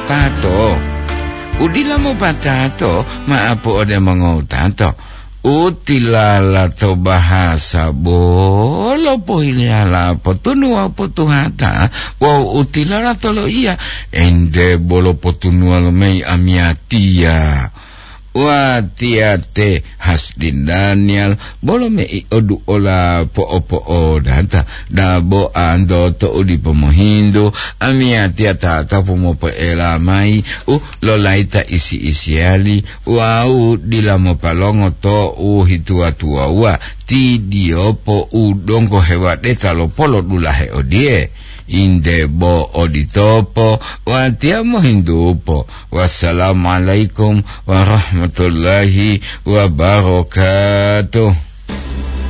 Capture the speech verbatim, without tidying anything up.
Tato, udila mopatato ma'apu ode mongowutato. Utilala to bahasa bolo pohilala potunu wawu potuhata, wawu utilala to loiya, ente bolo potunuwa lomayi amiyatiya. Watiya te Hasdin Daniel, bolo mei oduola po'opo'odata, dabo anto to u dipo mohintu, amiyatiya tatapu mopoela mayi u lolayita isi-isiyali wawu dila mopalongo to u hituwa-tuwawuwa, ti diyopo u donggo hewadeta lo polodulahe odiye. Inde bo oditopo, watiya mohintupo. Wassalamualaikum warahmatullahi wabarakatuh.